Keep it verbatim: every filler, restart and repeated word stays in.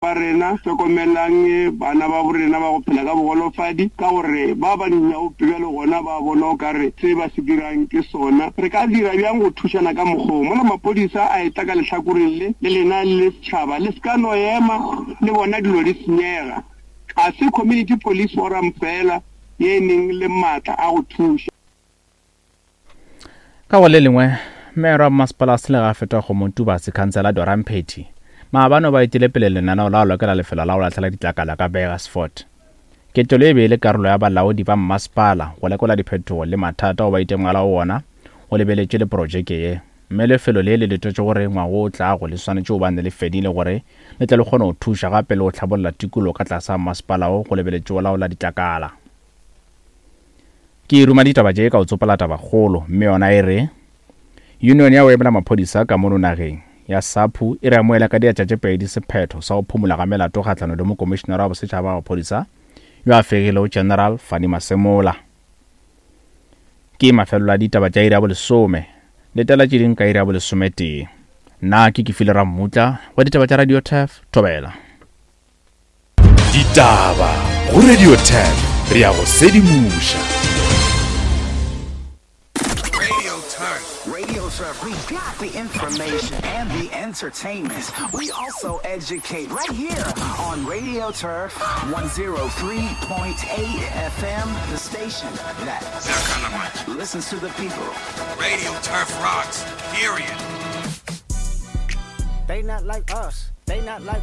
Ba rena, hlokomelang bana ba borena ba go phela ka bogolofadi, ka gore ba ba dinyaope bjalo gona ba bona o ka re se ba se dirang ke sona. Re ka dira bjang go thušana ka mokgwa wo? Mola maphodisa a etla ka lehlakoreng le, le lena le le setšhaba le se ka no ema le bona dilo di senyega. Ga se Community Police Forum feela ye e neng le maatla a go thuša. Ka go le lengwe, Meyara wa Mmasepala wa Selegae Fetwa Kgomo Tubatse, Khansela Dora Mphethi, maabane o ba etile pele lenaneo la go lokela lefelo la go lahlela ditlakala ka Burgersfort. Ketelo e be e le karolo ya balaodi ba mmasepala go lekola diphetogo le mathata ao ba itemogelago wona go lebeletše le projeke ye. Mme lefelo le le letetšwe gore ngwaga o tlago le swanetše go bane le fedile gore le tle le kgone go thuša gape le go hlabolla tikologo ka tlase ga mmasepala wo go lebeletše go laola ditlakala. Ke ruma ditaba tše ka go tsopola tabakgolo, mme yona e re, Union ya go emela maphodisa ka mono nageng ya SAPU e re amoela ka diatla tše pedi sephetho sa go phumola ga melato kgahlanong le Mokomišenara wa Bosetšhaba wa Maphodisa yo a fegilego General Fannie Masemola. Ke mafelelo a ditaba tša iri ya bolesome. Letela tše ding ka iri ya bolesometee. Nna ke Kefile Rammutla wa ditaba tša Radio Turf, Thobela. Ditaba go Radio Turf, re a go sedimoša. Radio Turf. Radio Turf, we got the information and the entertainment. We also educate right here on Radio Turf one zero three point eight F M, the station that listens to the people. Radio Turf rocks, period. They not like us. They not like